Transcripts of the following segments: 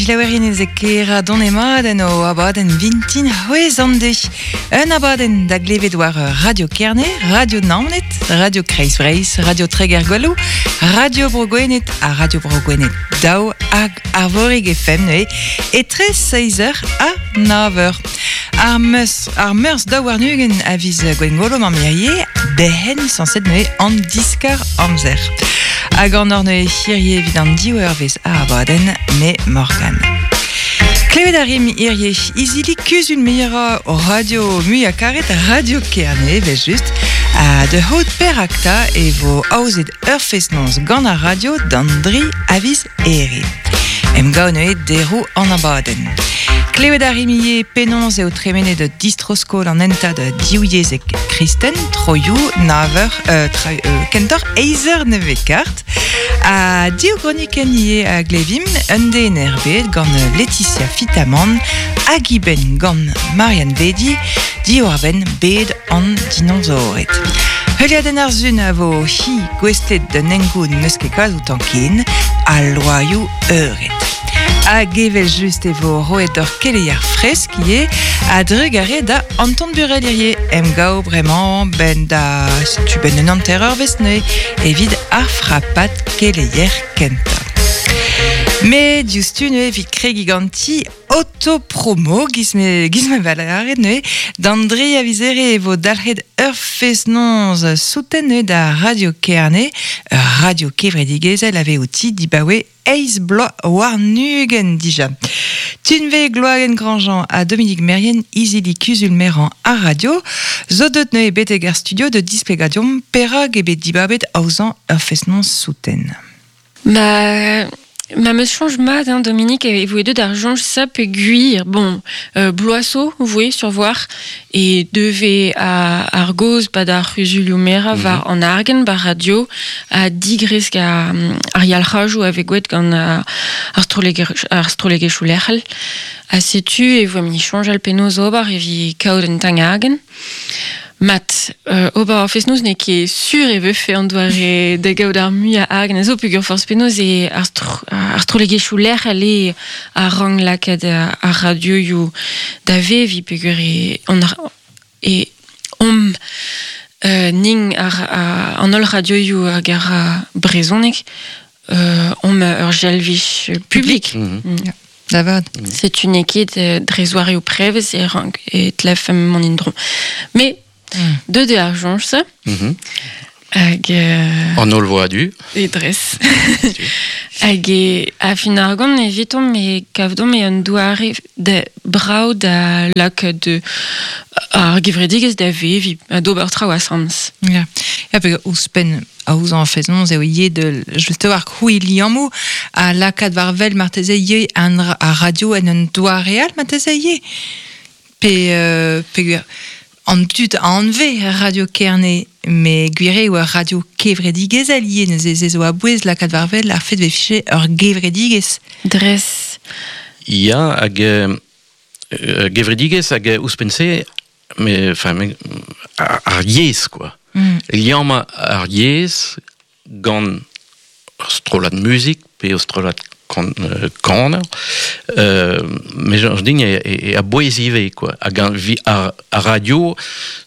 jilaouerien ez kera donemat en o abadenn vintin c'hwez an de. Un abadenn da glevet war Radio Kerne, Radio Naoned, Radio Kreiz Breizh, Radio Treger Gwallou, Radio Bro Gwened ha Radio Bro Gwened daou hag Arvorig FM neuze, etre 6h ha 9h. Ar meus, ar meurzh 22 a viz Gwengolo mamm hirie, dehen sañset neuze an diskar amzer. Hag an hor neuze hirie evit an div eurvezh a abadenn, me Morgan. Klevet a rim hirie izili kuzul merañ o radio muiañ karet Radio Kerne, evel just, ha da c'hoût perak 'ta e vo aozet ur fest-noz gant ar radio d'an dri a viz Here. Emgav neuze deroù an abadenn. Klevet a rimp ivez penaos eo tremenet distro-skol an hentad divyezhek kristen, troioù, naver, euh, tra, euh, kentoc'h eizh eur nevez kart. Ha div gronikenn ivez a glevimp, un den er bed gant Laetitia Fitamant hag eben gant Marianne Vedi, diwar-benn bed an dinosaored. Heuliadenn ar sun a vo hi gouestlet d'un hengoun n'eus ket kalz outañ ken, al loaioù eured. Hag evel-just e vo roet d'ur keleier fresk ivez, a-drugarez da Anton Burel hirie, emgav bremañ 'benn da setu 'benn un hanter-eurvezh neuze evit ar frapad keleier kentañ. Met diouzhtu neuze evit kregiñ ganti Autopromo, giz me, giz me va lâret neuze, d'an dre a viz Here e vo dalc'het ur fest-noz souten neuze da Radio Kerne, ur radio kevredigezhel a vez outi dibaoe eizh bloaz warn-ugent dija. Tunve Gloagen Grandjean ha Dominique Merrien, izili kuzul-merañ ar radio, zo deut neuze betek ar studio da displegañ deomp perak eo bet dibabet aozañ ur fest-noz souten. Ma ma 'meus soñj mat hein, Dominique, e voe deuet ar soñj-se peogwir, bon, bloaz zo 'voe sur voir e deuve ar gaoz 'pad ar c'huzulioù-merañ war an argent 'ba radio ha digresk ar yalc'hajoù a vez gwraet gant ar ar strollegezhioù lec'hel. Ha setu e voemp-ni soñjal penaos ober evit kaout un tamm argent. Mat, ober ar fest-noz n'eo ket sur e vefe an doare da gaout ar muiañ argant a zo peogwir forzh penaos eo ar ar strollegezhioù lec'hel eo a rank lakaat ar radioioù da veviñ peogwir e on e omp nin ar an holl radioioù hag ar brezhoneg omp ur jalvij publik. Da vat. Setu n'eo ket dre zoareoù prevez e rank e tlefemp mont en-dro. Mais deuet eo ar soñj-se. Hag An holl vo a-du. E dres. Hag e a fin ar gont evitomp e kavdomp eo un doare da brav da lakaat ar gevredigezh da veviñ ha d'ober traoù asambles. Ya, ya pe ouzhpenn aozañ fest-noz eo ivez de just war krouiñ liammoù ha lakaat war wel marteze ivez an ar radio en un doare all marteze ivez pe peogwir an dud a anvez Radio Kerne met gwir eo ur radio kevredigezhel ivez neuze se zo a-bouez lakaat war wel ar fed 'vefe ur gevredigezh. Dres. Ya hag gevredigezh hag ouzhpenn-se mais enfin ar yezh quoi. Liammañ ar yezh gant ur strollad muzik pe ur strollad kaner me soñj din e a-bouez ivez quoi. Hag ar radio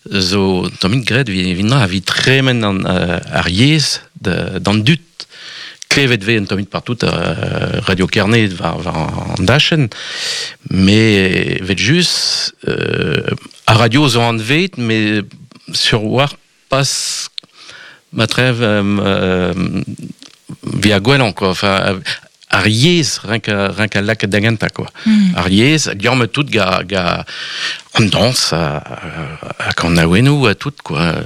zo tammig graet evit evit tremen ar yezh d'an dud. Klevet 'vez un tammig partout Radio Kerne war an dachenn, met evel-just ar radio zo anvet met sur war pas ma trev via gwellañ quoi. Enfin, ar yezh renk a lakaat da gentañ quoi. Ar yezh liammet tout ga ga an dañs hag an awennoù ha tout quoi.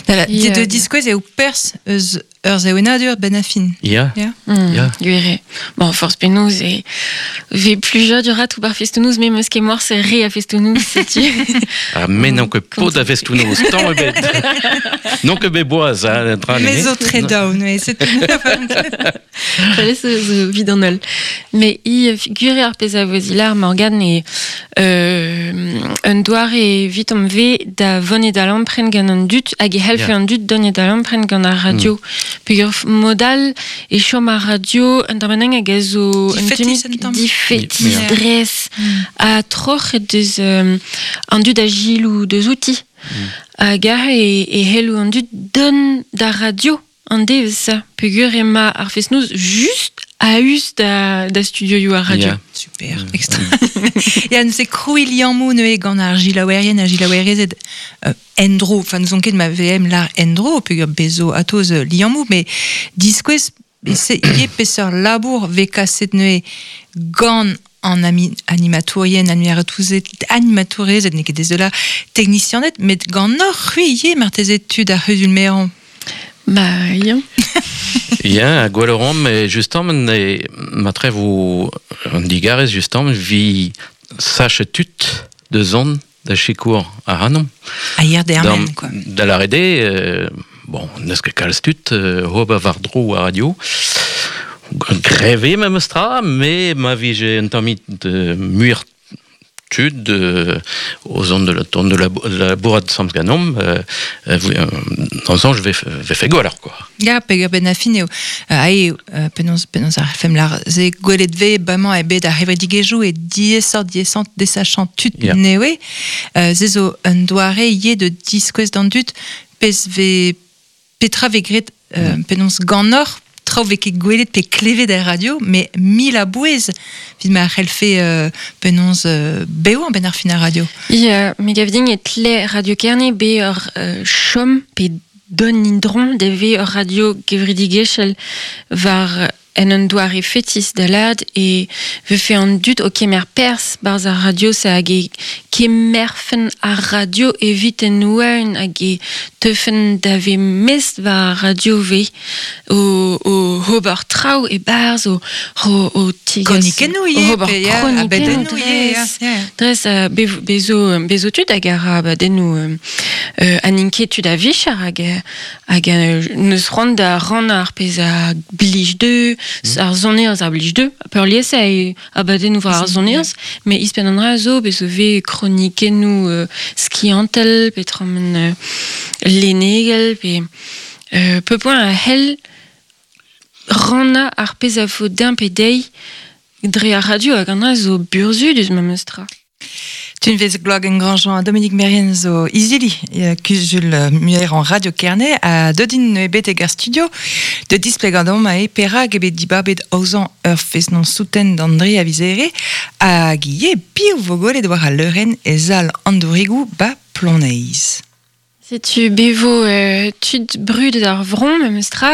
De diskouez eo perzh eus Ur sevenadur benn ar fin. Ya. Ya. Ya. Gwir eo. Bon, forzh penaos e vez plujadur tout bar festoù-noz, me 'meus ket morse re a festoù-noz, setu. Ah, me n'on ket paotr a festoù-noz, tamm ebet. N'on ket bet boaz, hein, tra Me zo tre down, oui, c'est Fallait zo vid an holl. Mais i gwir eo ar pezh a vo zilar, Morgane, e Un doare evit am ve da vonet da lampren gant an dud hag e helfe an dud donet da lampren gant ar radio. Peogwir modal e chom ar radio un tamm hag a zo un tamm. Difetis, dres ha troc'het deus an dud a gilou deus outi. Hag aze e hello an dud don d'ar radio an devezh peogwir ema ar fest-noz just a-us da studioioù ar radio. Super, extra. Ya, neuze krouiñ liammoù neuze gant ar gilaouerien ha gilaouerezed en-dro. Enfin, n'ouzon ket ma VM lar en-dro, peogwir bezo atoz liammoù, mais diskouez ivez peseurt labour vez kaset neuze gant an animatourien, animatourezed, n'eo ket dezola, technicianed, met gant hoc'h c'hwi ivez marteze tud ar c'huzul-merañ. Ba, ya. Ya, gwell ran, justement, ma trev an digarez, justement, vi sache tud de zon da sikour ar anom. A hier dermen, quoi. Da la rede, bon, neus ket kalz tud, hob a war dro a radio. Greve memes tra, me ma vije un tammit muir tud o zon de la ton de la bourrade samz ganom, dans je vais fait gwell, quoi. Ya, peogwir ben a fin eo. Ae, penaos ar fem lar ze gwelet ve bamañ e bet ar hevredigezhioù e diesort diesant desachant tud newe. Ze zo un doare ivez de diskouez d'an dud pezh ve petra ve graet penaos ganeoc'h traoù vez ket gwelet pe klevet er radio, mais mil a bouez evit ma c'hellfe penaos bev ben ar fin ar radio. Ya, me gav din e tle Radio Kerne be ur chom pe don indron de ve ur radio gevredigezhel war en un doare fetis da lad e vefe an dud o kemer pers barz ar radio sa hag e kemerfen ar radio evit en ouen hag e teufen da ve mest war ar radio ve o ober traoù e barz o tigas Kronikennoù ivez, ober abadennoù ivez, dres bezo tud hag ar abadennoù an inketud a vicher hag neus c'hoant da rannañ ar pezh a blij deu ar sonerezh ar blij deu peurliesañ eo abadennoù war ar sonerezh met ispenn an dra zo bezo vez kronikennoù skiantel pe tramen lennegel pe peu point a c'hell rannañ ar pezh a vo din pe dezhi dre ar radio hag an dra zo burzhudus memes tra. Tunvezh Gwlagen-Grandjean ha Dominique Merrien zo izili kuzul muiañ Radio Kerne ha deut int betek ar studio de displegañ deomp ae perak eo bet dibabet aozañ ur fest-noz souten d'André Avizere hag ivez piv vo gwelet war al leurenn e sal an dourigoù ba Ploneiz. Setu bevo tud brudet ar vron memes tra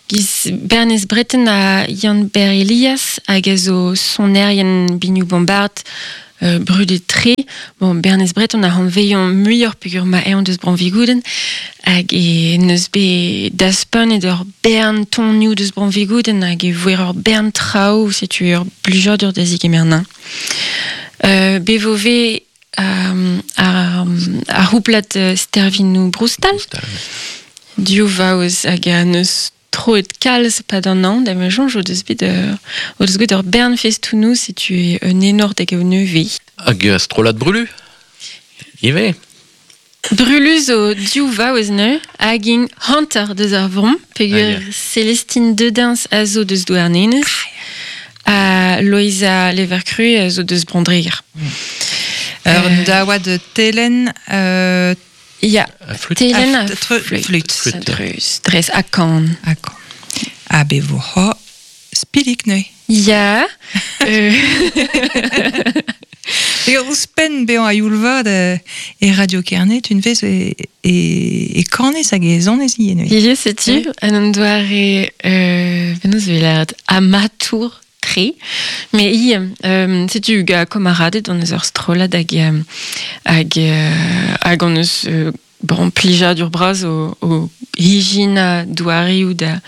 giz Bernez Breton ha Yann Ber Elias hag a zo sonerien binioù bombard brudet tre. Bon, Bernez Breton a hanveillan muioc'h peogwir ma eñ deus Bronvigouden hag e neus bet daspanet ur bern tonioù deus Bronvigouden hag e voer ur bern traoù, setu ur blijadur da zigemer-nañ. Bevo ve ar c'houplad Stervinoù Broustal. Div vaouez hag a neus troet kalz pad an an, da ma soñj o deus bet o deus bet ur bern festoù setu un enor da gaout nevez. Hag strollad Brulu ivez. Brulu zo div vaouez neuze hag int hanter deus ar vron, peogwir Célestine Dedens a zo deus Douarnenez ha Loeiza Levercru a zo deus Brandreger. Ur daouad Telen Ya, Telen a flûte. Dres ha kan. Ha kan. Ha bevo ho spilik neuze. Ya. E ouzhpenn bezañ a-youl-vat e Radio Kerne, tunvezh e kanez hag e zonez ivez neuze. Ivez setu, an an doare penaos e vez lâret amatour tre, mais i setu ga kamaradet on eus ur strollad hag hag on eus bon plijadur bras o hijina doareoù da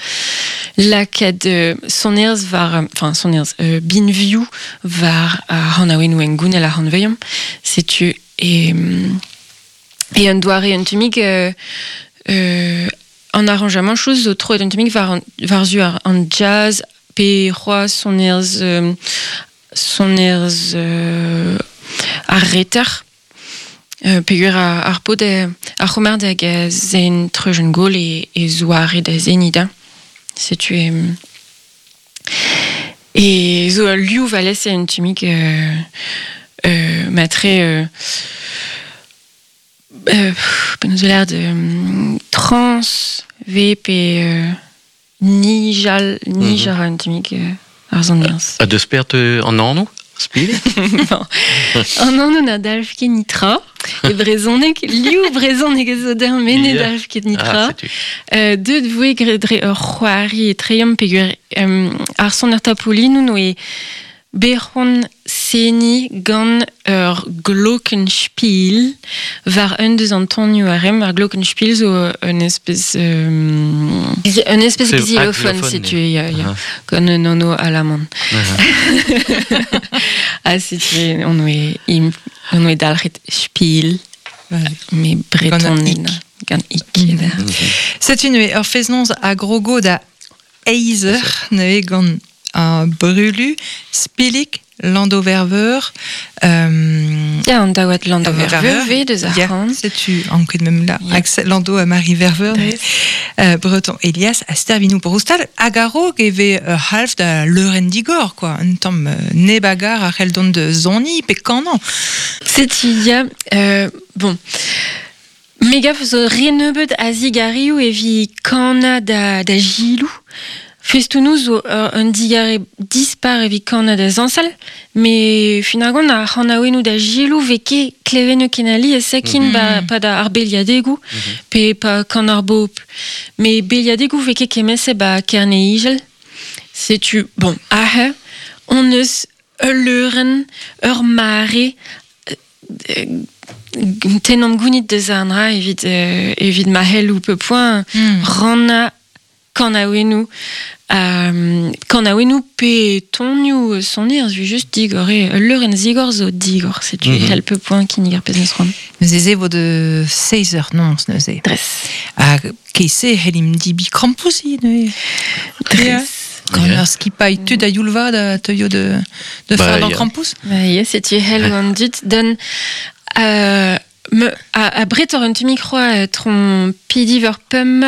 lakaat sonerezh war enfin sonerezh binvioù war ar c'hanaouennoù hengounel ar c'hanveilhomp. Setu e un doare un tammig an arranjamantoù zo troet un tammig war war-zu an jazz pe c'hoazh sonerezh ar reter. Peogwir ar paotr ar c'homer hag zen treujenn gol e zoare da zeniñ da. Setu e zo ul liv alese un tammig matre penaos eo lâret trans ve pe nijal nij a ra un tammig ar sonerezh. Ha deus peart an anv Spirit? An anv na dalv ket nitra. E brezhoneg, liv brezhoneg a zo dezhañ met ne dalv ket nitra. Ah, deuet voe dre ur c'hoari etreomp peogwir ar soner tapoulinoù n'oe bet c'hoant seniñ gant ur glockenspiel war un deus an tonioù a remm. Ar glockenspiel zo un espèce un espèce xylophone, setu ya, ya, gant un anv alaman. Ha setu on oe on oe dalc'het spiel, me breton gant ik. Setu neuze ur fest-noz a grogo da eizh eur neuze gant Brulu, Spilik, Landoverveur. Ya, an daouad Landoverveur vez deus ar c'han. Setu anket mem la. Axel Lando ha Marie Verveur. Breton Elias ha Stervinou Broustal. Hag a-raok e vez ur c'halv da leurenn digor, quoi. Un tamm neb a gar a c'hell dont da soniñ pe kanañ. Setu ya, bon. Me gav zo re nebeut a zigarioù evit kanañ da Gilou. Festoù-noz zo un digarez dispar evit kanañ da zañsal, met finalement ar c'hanaouennoù da Gilou 'vez ket klevennoù ken alies ken pa da ar beliadegoù pe pa kan ar bobl. Met beliadegoù 'vez ket kement-se 'ba Kerne-Izel. Setu, bon, aze hon eus ul leurenn, ur mare tennomp gounit deus an dra evit evit ma c'hello peu point rannañ kanaouennoù kanaouennoù pe tonioù sonerezh just digor eo ul leurenn zigor zo digor setu e c'hell peu point kinnig ar pezh 'neus c'hoant. Neuze se vo de 16 heures noz neuze. Dres. Ha ket-se c'hellimp dibi krampouezh neuze. Dres. Gant ur skipailh tud a youl vat a teuio de, de bah, fardañ krampouezh. Bah, ya, setu hell an dud d'un me a, a bretor un tammig c'hoazh tron pidi ur pemp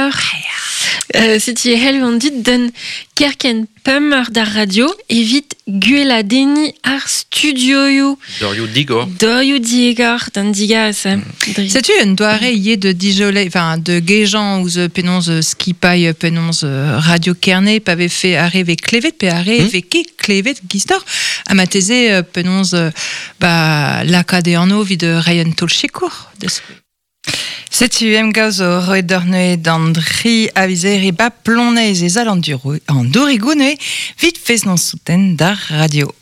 setu hell an dud d'un kerkent pemp eur d'ar radio evit gweladenniñ ar studioioù. Dorioù digor. Dorioù digor, d'an digarez. Setu un doare ivez de dijoler, enfin de gejañ ouzh penaos skipailh penaos Radio Kerne pa vefe ar re vez klevet pe ar re vez ket klevet gistoc'h ha marteze penaos ba lakaat e anv evit reiñ un taol sikour da skouer. Setu emgav zo roet deoc'h neuze d'an dri a viz Here ba Ploneiz e sal an Dourigoù neuze 'vit fest-noz souten d'ar radio.